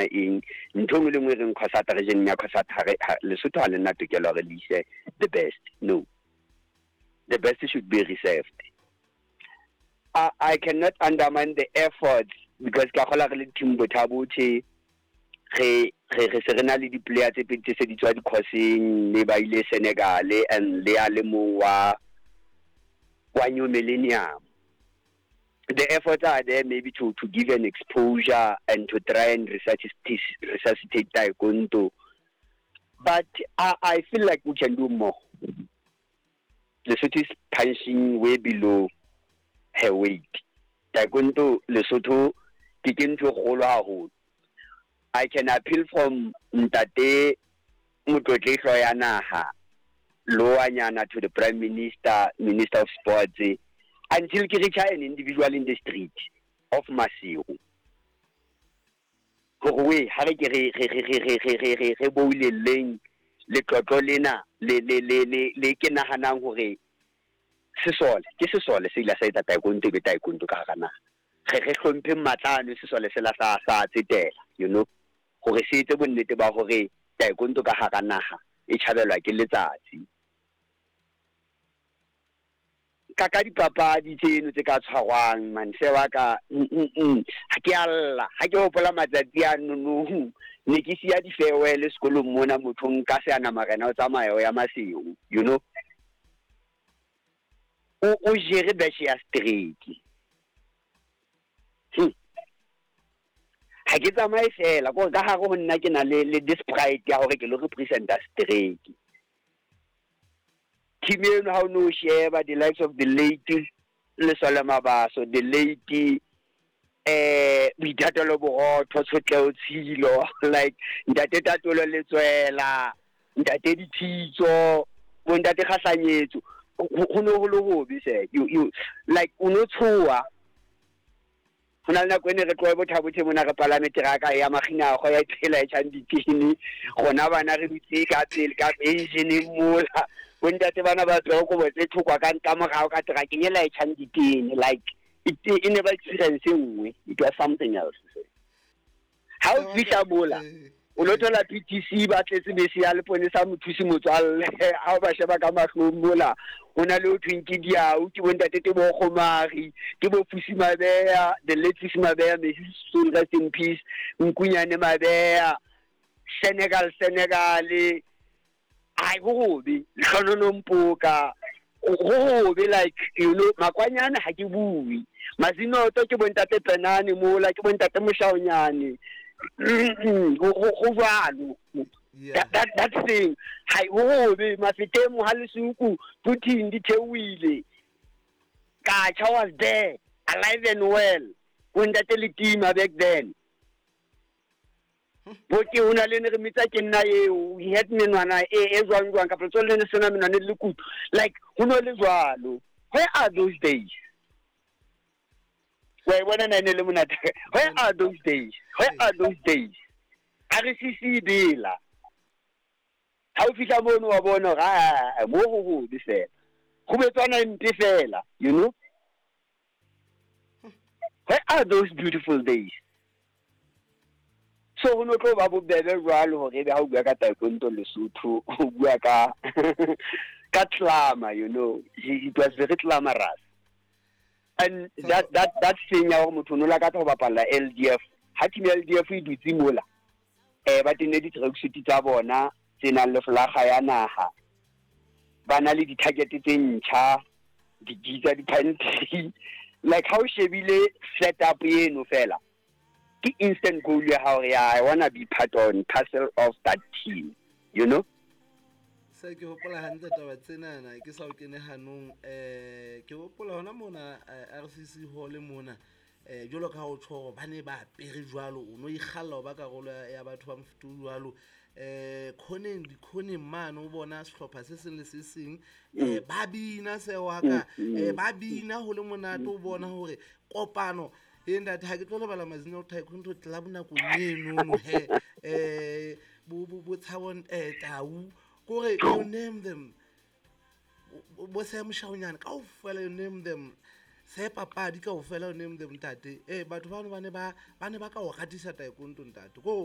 Eng ntho engwe le engwe e reng Cosata region ya Cosata Lesotho ha le nna tokelo hore le ise the best. No, the best should be reserved. I cannot undermine the efforts because ka kgola re le team Botha-Bothe, re re re se re na le di-player tse pedi tse se di tswa di-courseng, mme ba ile Senegal and le a le mong wa New Millennium. The efforts are there maybe to give an exposure and to try and resuscitate taekwondo, but I feel like we can do more. Lesotho is punching way below her weight. Taekwondo Lesotho ke ntho e kgolo haholo. I can appeal from Ntate Motlotlehlo ya naha Loanyana to the Prime Minister, Minister of Sports, until ke reach an individual in the street of Maseru. Hore we ha re ke re re re re re re re re re boulelleng letlotlo lena le le le le le ke nahanang hore sesole ke sesole se ile sa etsa taekwondo be taekwondo ka hara naha. Re re hlomphe matlano sesole se la sa sa tsetela, you know, hore se etse bonnete ba hore taekwondo ka hara naha e tjhabelwa ke letsatsi. Ka dipapadi tseno tse ka tshwarwang manse wa ka, ha ke a lla, ha ke hopola matsatsi a nono, ne ke siya di-farewell sekolong mona, motho nka se ana marena o tsamaya o ya Maseru, you know, o jere batch ya straight. Ha ke tsamaye fela kore ka hare ho nna ke na le this pride ya hore ke lo representa straight. Team eno ha o no sheba the likes of the late Lesole Mabaso, the late Boithatelo Borotho, Tshotleho Tshilo, like Ntate Tatolo Letswela, Ntate Dithitso, bo Ntate Kgahlanyetso, ho no ho le hobe se. You like o no tshoha. Ho na le nako e ne re tlohe Botha-Bothe mona re palame teraka ya Makginago ya tsela e tjhang ditene. Rona bana re dutse ka pele ka engine mola. Bo ntate bana ba tswa kobo tse thokwa ka nka morao ka terakeng e la e tjhang ditene. Like it e ne ba experience e nngwe. It was something else. Ha o fihla mola, o lo thola PTC ba tletse bese ya leponesa mothusi motswalle. Ha o ba sheba ka mahlong mola, ho na le ho thweng ke diau, ke bo ntate Teboho Kgomari, ke bo Fusi Mabeya, the late Fusi Mabeya, may his soul rest in peace, Nkunyane Mabeya, Senegal, Senegal, ai ho hobe, Lehlonono Mpoka, ho hobe, like, you know, Makwanyane ha ke bue. Mazinoto ke bo ntate Penane mola, ke bo ntate Moshaonyane. Ho jwalo. That thing, ha ho hobe, Mafeteng ha Lesuku, Putin di theohile. Kacha was there, alive and well. Bo ntate Letima back then. Bo ke ho na le ne re mitsa ke nna eo, he had menwana e jwang jwang, kapa tsone le ne sena menwana le kutu. Like, ho no le jwalo. Where are those days? Wa e bona na e ne le monate? Where are those days? Where are those days? A re sisi bela. Ha o fihla mono wa bona hore, ah, mo ho hobe fela. Ho betswana mpe fela, you know? Where are those beautiful days? So ho no tlo ba bobebe jwalo hore ebe ha o bua ka taekwondo Lesotho, o bua ka glamour, you know. It was very glamorous. And that thing ya hore motho o no lakatsa ho bapalla LDF, ha team ya LDF e dutse mola, ba tenne di-tracksuit tsa bona tse nang le flaga ya naha, ba na le di-target tse ntjha, di-gitsa, di-pantry. Like ha o shebile setup eno fela, ke instant goal ya hao ya I wanna be part on parcel of that team, you know? Se ke hopola hantle taba tsenana, ke sa o kene hanong, ke hopola hona mona, RCC Hall mona, jwalo ka ha o tjho hore ba ne ba apere jwalo, o no ikgalla ho ba karolo ya batho ba mofuta o jwalo. Khoneng, dikhoneng mane o bona sehlopha se seng le se seng, ba bina se wa ka, ba bina ho le monate, o bona hore kopano e ntate, ha ke tlo lebala Mazino Taekwondo Club nakong eno he, bo Tshabo, Tau, kore you name them, bo Sam Shaonyane kaofela, you name them. Se papadi kaofela o name them, ntate. Ee, batho bano ba ne ba ka o ratisa taekwondo, ntate, ko o